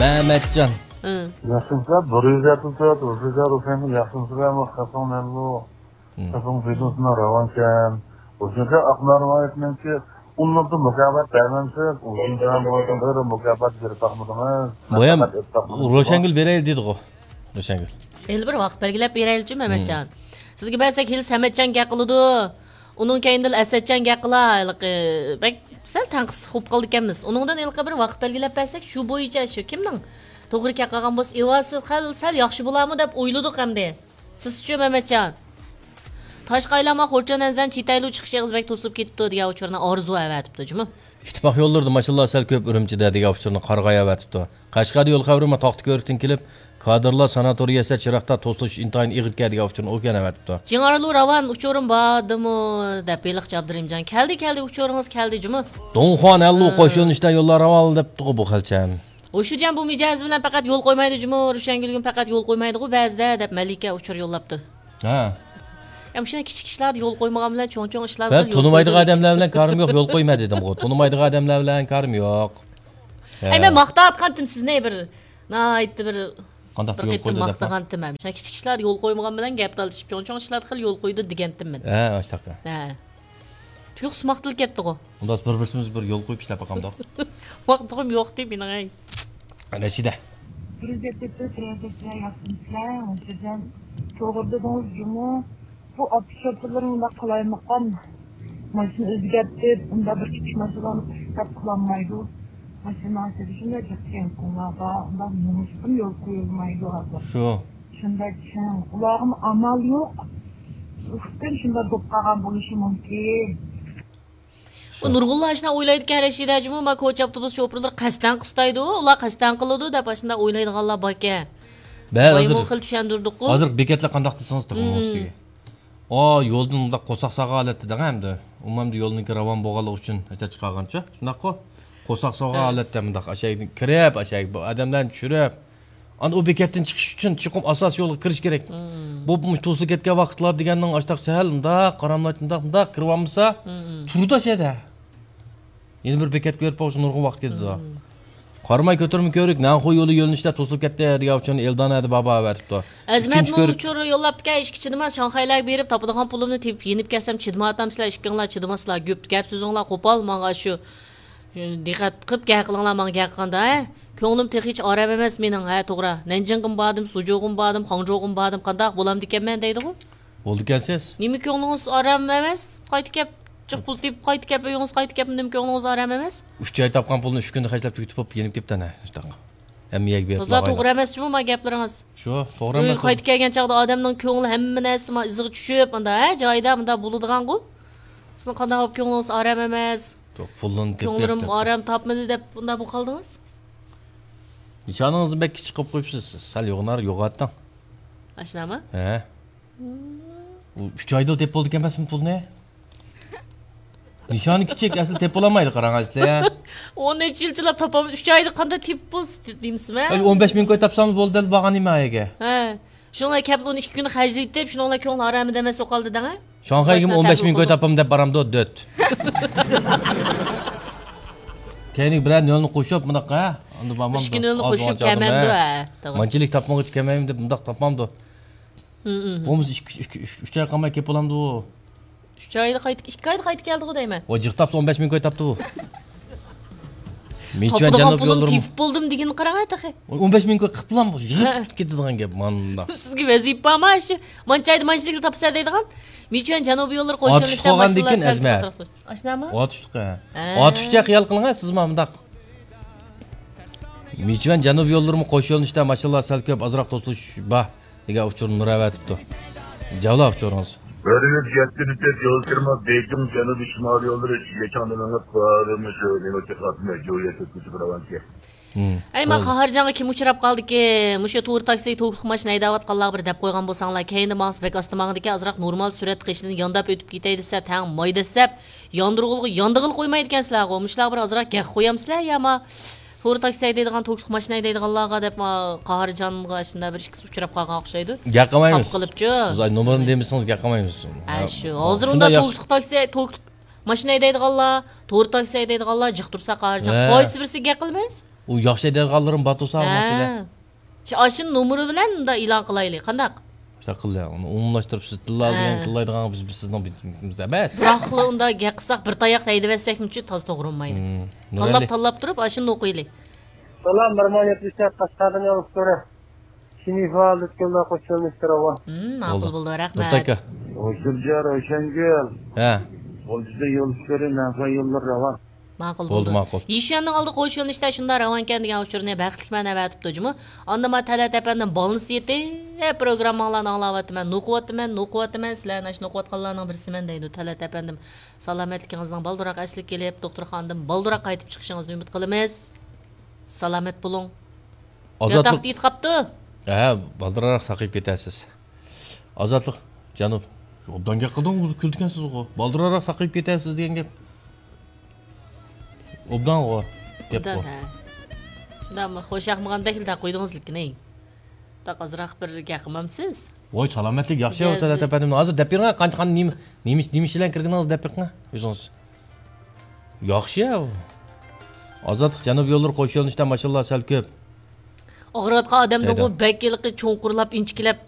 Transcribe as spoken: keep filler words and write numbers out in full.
مەمەتجان. ھە. ياخشىمۇسىلەر، بىر يۈز يەتمىش تۆت، بىر يۈز يەتمىش تۆت، ياخشىمۇسىلەر، خەتىڭ نەللۇ. ھە. خەتىڭ ۋىدىيوسىنىڭ راۋانكەن. ئۆزىگە ئاقمار رىۋايەتنىڭكى ئۇنىڭدا مۇكاپات بەرمەمسىز؟ ئۇزۇن زامان بولسۇن، بىر مۇكاپات بېرىپ باقمىدىڭىز. بۇ ھەم مۇكاپات ئېلىپ باقمىدىڭىزمۇ؟ روشەنگۈل بېرەيلى دېدىغۇ. روشەنگۈل. ھېلى بىر ۋاقىت بەلگىلەپ بېرەيلىچۇ، مەمەتجان. ھىم. سىزگە بەرسەك، ھېلى سەمەتجان گەپ قىلىدۇ. ئۇنىڭ كەينىدىن ئەسەتجان گەپ قىلا. ھېلىقى بەك سەل تەڭقىسلىق بولۇپ قالىدىكەنمىز. ئۇنىڭدىن ھېلىقى بىر ۋاقىت بەلگىلەپ بەرسەك، شۇ بويىچە شۇ كىمنىڭ توغرا كەپ قالغان بولسا، ئىۋاسى سەل، سەل ياخشى بولارمۇ دەپ ئويلىدۇق ئەمدى. سىزچۇ، مەمەتجان؟ تاشقا ئايلانما، خورچۇن ئەنزەن، چىتايلۇ چىقىش ئېغىز بەك توسۇلۇپ كېتىپتۇ دېگەن ئۇچۇرنى ئارزۇ ئەۋەتىپتۇ جۇمۇ. ئىتتىپاق يوللىرىدا ماشىنىلار سەل كۆپ ئۈرۈمچىدە دېگەن ئۇچۇرنى قارىغاي ئەۋەتىپتۇ. قەشقەردە يول خەۋىرى ما تاختىكۆۋرۈكتىن كېلىپ، كادىرلار ساناتورىيەسىدە چىراغدا توسۇلۇش ئىنتايىن ئېغىركەن دېگەن ئۇچۇرنى ئۇكەن ئەۋەتىپتۇ. جىڭئارلۇ راۋان ئۇچۇرۇم باردىمۇ دەپ ھېلىقى ئابدۇرېھىمجان. كەلدى، كەلدى، ئۇچۇرىڭىز كەلدى جۇمۇ. دۇڭخۇان ئەللۇ ھە. قوش يۆنىلىشتە يوللار راۋانلىدىپتىغۇ بۇ خەلچەم. ئۇشۇجان بۇ مىجەزى بىلەن پەقەت يول قويمايدۇ جۇمۇ، روشەنگۈلگىمۇ پەقەت يول قويمايدىغۇ بەزىدە دەپ مەلىكە ئۇچۇر يوللاپتۇ. ھە. يا مۇشۇنداق كىچىك ئىشلاردا يول قويمىغان بىلەن چوڭ-چوڭ ئىشلاردا مەن يول تونۇمايدىغان قويىدۇ. ئادەملەر بىلەن كارىم يوق، يول قويما دېدىمغۇ. تونۇمايدىغان ئادەملەر بىلەن كارىم يوق. ھە. ئەي، مەن ماقتاۋاتقانتىم سىزنى بىر ناھايىتى بىر، قانداق بىر يول قېتىم قويدى دەپ؟ ماقتىغانتىم ھەم. مۇشۇنداق كىچىك ئىشلاردا يول قويمىغان بىلەن گەپ تالىشىپ، چوڭ-چوڭ ئىشلاردا خېلى يول قويىدۇ دېگەنتىم مەن. ھە، ئاشتاق. ھە. تۇيۇقسىز ماقتىلىپ كەتتىغۇ. ئۇنداق بىر-بىرسىمىز بىر يول قويۇپ ئىشلەپ باقامدۇق؟ ۋاقتىغۇم يوق دەپ مېنىڭ، ئەي. رەشىدە. بىر يۈز يەتتە تۆت، بىر يۈز يەتتە ياقتىمسىلەر، ھوجام. توغرا دېدىڭىز جۇمۇ. بۇ ئاپتوشوپېرلىرىڭ ئۇنداق قالايمىقان. ماشىنا ئۆزگەرتىپ، ئۇنداق بىر كىچىك ماشىنىلارنى قىلىپ قىلالمايدۇ. ماشىنا ئىچىدە شۇنداق جىق كەڭ كۇڭلاردا، ئۇنداق نومۇسقىمۇ يول قويۇلمايدۇ ھازىر. شۇ. شۇنداق چىڭ. ئۇلارغىمۇ ئامال يوق. ئۇقۇپتىن شۇنداق بولۇپ قالغان بولۇشى مۇمكىن. بۇ نۇرغۇنلار ئاشۇنداق ئويلايدىكەن، رەشىدە جۇمۇ، ما كوچا ئاپتوبۇس شوپۇرلىرى قەستەن قىستايدۇ، ئۇلار قەستەن قىلىدۇ دەپ ئاشۇنداق ئويلايدىغانلار باركەن. بەلى ھازىر، خېلى چۈشەندۈردۇققۇ. ھازىر بېكەتلەر قانداق دېسىڭىز تېخى ئۇنىڭ ئۈستىگە. ئا، يولدىن مۇنداق قورساق سالغان ھالەتتە دەڭ ئەمدى. ئۇمۇ ئەمدى يولنىڭكى راۋان بولغانلىقى ئۈچۈن ھەيدەپ چىقارغانچۇ؟ شۇنداققۇ؟ قورساق سالغان ھە. ھالەتتە مۇنداق ئاشايدىن كىرىپ، ئاشايدىن بۇ ئادەملەرنى چۈشۈرۈپ، ئاندىن ئۇ بېكەتتىن چىقىش ئۈچۈن چوقۇم ئاساسىي يولغا كىرىش كېرەك. مم. بۇ، بۇ توسۇلۇپ كەتكەن ۋاقىتلار دېگەننىڭ ئاشتاق سەل مۇنداق قاراملايتىپ مۇنداق، مۇنداق كىرىۋالمىسا، مم. تۇرىدۇ ئاشۇ يەردە. يەنە بىر بېكەتكە بېرىپ بولسا نۇرغۇن ۋاقىت كېتىدۇ. مم. قاراماي كۆتۈرمە كۆۋرۈك نەنخۇ يولى يۆنىلىشىدە توسۇلۇپ كەتتى دېگەن ئۇچۇرنى ئېلدانە ھەدە بابا ئەۋەتىپتۇ. ئەزىمەت ئۈچىنچى كۆۋرۈك. ئۇچۇر يوللاپتىكەن، ئىشقا چىدىماس، شاڭخەيلەرگە بېرىپ تاپىدىغان پۇلۇمنى تېپىپ يېنىپ كەلسەم چىدىماياتامسىلەر، ئىككىڭلار چىدىماسىلا، گۈپ گەپ سۆزۈڭلار قوپال ماڭا شۇ. دىققەت قىپ گەپ قىلىڭلار ماڭا گەپ قىلغاندا، ھە؟ كۆڭلۈم تېخىچە ئارام ئەمەس مېنىڭ، ھە، توغرا. نەنجىڭغىمۇ باردىم، سۇجۇغىمۇ باردىم، خاڭجۇغىمۇ باردىم، قانداق بولامدىكەنمەن دەيدىغۇ؟ بولىدىكەنسىز. نېمە كۆڭلىڭىز ئارام ئەمەس؟ قايتا كەپ، جىق پۇل تېپىپ، قايتا كەپ، ئۆيىڭىزگە قايتا كەپ، نېمە كۆڭلىڭىز ئارام ئەمەس؟ ئۈچ ئاي تاپقان پۇلنى ئۈچ كۈندە خەجلەپ تۈگىتىپ بولۇپ يېنىپ كېتىپتەن، ھە، شۇنداق. ھەممە يەرگە بېرىپ تازا توغرا ئەمەس جۇمۇ ما گەپلىرىڭىز. شۇ، توغرا ئۆيگە ئەمەس. قايتىپ كەلگەن چاغدا ئادەمنىڭ كۆڭلى ھەممە نەرسىسى ما ئىزىغا چۈشۈپ، ئاندا، ھە، جايىدا، مۇندا بولىدىغانغۇ. سىزنىڭ قانداق بولۇپ كۆڭلىڭىز ئارام ئەمەس؟ پۇلنى تېپىپ كۆڭلىرىم ئارام تاپمىدى دەپ بۇنداق بولۇپ قالدىڭىز؟ نىشانىڭىزنى بەك كىچىك قىلىپ قويۇپسىز. سەل يوغىناراق يوغان ئېيتىڭ. ئاشۇنداقمۇ؟ ھە. ئۇ ئۈچ ئايدا تېپىپ بولىدىكەن ئەمەسمۇ پۇلنى؟ نىشانى كىچىك، ئەسلى تېپىپ بولالمايدۇ، قاراڭ ئەسلى. ئون نەچچە يىلچىلاپ تاپالمىدى، ئۈچ ئايدا قانداق تېپىپ بولسا دېمىسىمەن. ئەي، ئون بەش مىڭ كوي تاپسام بولدى، دەل بارغان نېمە ئەگە. ھە. شۇنىڭغا كەپلا ئۇنى ئىككى كۈن خەجلىتىپ، شۇنىڭ بىلەن كۆڭلى ئارام دەمەس بولۇپ قالدى دەڭە. شاڭخەيگىمۇ ئون بەش مىڭ كوي تاپامەن دەپ بارامدۇ، دۆت. كەينىگە بىرەر نۆلنى قوشۇپ، مۇنداق، ھە؟ ئاندىن بارمامدۇ. ئىككى نۆلنى قوشۇپ كەلمەمدۇ، ھە، توغرا. مانچىلىك تاپمىغۇچە كەلمەيمەن دەپ مۇنداق تاپمامدۇ. ھە، ھە، ھە. بولمىسا ئىككى، ئۈچ، ئۈچ، ئۈچ، ئۈچ ئاي قالماي كېلىپ بولامدۇ. ئۈچ ئايدا قايتىپ، ئىككى ئايدا قايتىپ كەلدىغۇ دەيمەن. ۋاي، جىق تاپسا ئون بەش مىڭ كوي تاپتى بۇ. مىچۈەن تاپىدىغان جەنۇبىي پۇلۇم يوللىرىمۇ. تېپىپ بولدۇم دېگىنى قاراڭ تېخى. ۋاي، ئون بەش مىڭ كوي قىپلام يىغىپ ھە. كېتىدىغان گەپ ماندا. سىزگە ۋەزىپە بارمۇ ئاشۇ؟ مانچە ئايدا مانچىلىكلا تاپسا دەيدىغان. مىچۈەن جەنۇبىي يوللىرى قوشۇنلۇشتا ئاتۇشقا قالغاندىن كېيىن ئەزمە. ئاشۇنداقمۇ؟ ئاتۇشلۇق، ھە. ھە. ئاتۇشچە خىيال قىلىڭ، ھە، سىزمۇ مۇنداق. مىچۈەن جەنۇبىي يوللىرىمۇ قوش يۆنىلىشتە ماشىنىلار سەل كۆپ، ئازراق توسۇلۇش بار دېگەن ئۇچۇرنى نۇر ئەۋەتىپتۇ. جاۋلا ئۇچۇرىڭىز. بىر يۈز يەتتە يول كىرمە، بېيجىڭ جەنۇبىي شىمالىي يوللىرى يېچاڭدىن مېڭىپ، مۇشۇ نېمە تېخى ئاتماي، جويە تۆتكىسى بىر ئاۋانچى. ھىم، ھەي، ما توغرا. قاھارجانغا كىم ئۇچراپ قالدىكى؟ مۇشۇ تور تاكسى، توكلۇق ماشىنا ھەيدەۋاتقانلارغا بىر دەپ قويغان بولساڭلار، كەينىدە ماڭسا بەك ئاستا ماڭىدىكەن، ئازراق نورمال سۈرئەت قېشىدىن يانداپ ئۆتۈپ كېتەي دېسە، تەڭ ماي دەسسەپ، ياندۇرغىلى، ياندىغىلى قويمايدىكەنسىلەرغۇ. مۇشۇلارغا بىر ئازراق گەپ قويامسىلەر يا ما؟ تور تاكسى ھەيدەيدىغان، توكلۇق ماشىنا ھەيدەيدىغانلارغا دەپ، ما، قاھارجانغا شۇنداق بىر ئىككىسى ئۇچراپ قالغان ئوخشايدۇ. گەپ قىلمايمىز. خاپا قىلىپچۇ. سىز نومۇرنى دېمىسىڭىز گەپ قىلمايمىز. ھە، شۇ. ھازىر شۇنداق ئۇنداق ياخشى. توكلۇق تاكسى، توكلۇق ماشىنا ھەيدەيدىغانلار، تور تاكسى ھەيدەيدىغانلار جىق تۇرسا قاھارجان. ھە. قايسى بىرسىگە گەپ قىلىمىز؟ ئۇ ياخشى دەيدىغانلىرىم بار تۇرسا، ھە. شۇ ئاشۇ نومۇرى بىلەن مۇنداق ئېلان قىلايلى. قانداق؟ شۇنداق قىل، ئۇنى ئومۇملاشتۇرۇپ، سىز تىللايدىغان، ھە. تىللايدىغان بىز، بىز سىزنىڭ بىتىمىز ئەمەس. بىراقلا ئۇنداق گەپ قىلساق، بىر تاياق ھەيدىۋەتسەكمۇچۇ تازا توغرا بولمايدۇ. مم. تاللاپ، نېمەلى؟ تاللاپ تۇرۇپ، ئاشۇنى ئوقۇيلى. سالام، بىر مىڭ يەتمىش تۆت قەشقەردىن يولۇش كۆرە. شىنىفا لۈتكۈللا قوشۇلمىشتۇر ئاۋا. مم، ماقۇل بولدى، رەھمەت. نۇرتاكا. ھوشۇرجا روشەنگۈل. ھە. غۇلجىدا يولۇش كۆرە، مەنخا يوللىرى راۋان. ماقۇل بولدى. بولدى، ماقۇل. يىشۈەننىڭ ئالدىغا قوشۇلۇشتا شۇنداق راۋانكەن دېگەن ئۇچۇرنى بەختلىكمەن ئەۋەتىپتۇ جۇمۇ. ئاندىن ما تەلەت ئەپەندىم بالنىسى يېتىپ پروگرامماڭلارنى ئاڭلاۋاتىمەن، نوقۇۋاتىمەن، نوقۇۋاتىمەن، سىلەرنى ئاشۇ نوقۇۋاتقانلارنىڭ بىرسىمەن دەيدۇ تەلەت ئەپەندىم. سالامەتلىكىڭىزنىڭ بالدۇرراق ئەسلىگە كېلىپ، دوختۇرخانىدىن بالدۇرراق قايتىپ چىقىشىڭىزنى ئۈمىد قىلىمىز. سالامەت بولۇڭ. ئازادلىق. ياتاقتا يېتىپ قاپتۇ. ھە، بالدۇرراق ساقىيىپ كېتەرسىز. ئازادلىق، جانۇب. ئوبدان گەپ قىلدىڭ، كۈلىدىكەنسىزغۇ. بالدۇرراق ساقىيىپ كېتەرسىز دېگەن گەپ. ئوبدانغۇ. گەپقۇ. ئوبدان، ھە. شۇنداقمۇ؟ خوش ياقمىغاندەكلا قويدىڭىز لېكىن، ئەي. تاق ئازراق بىر گەپ قىلمامسىز؟ ۋاي، سالامەتلىك ياخشى، ياخشى. تەلەت ئەپەندىم. ھازىر دەپ بېرىڭ، قانچە، قان-، نېمە، نېمە، نېمە ئىش بىلەن كىرگىنىڭىز دەپ بېقىڭ، ئۆزىڭىز. ياخشى يا ئۇ. ئازادلىق، جەنۇب يوللىرى قوش يۆنىلىشتە ماشىنىلار سەل كۆپ. ئاغرىۋاتقان ئادەمدىنغۇ دەيدۇ. بەك ھېلىقى چوڭقۇرلاپ، ئىنچىكىلەپ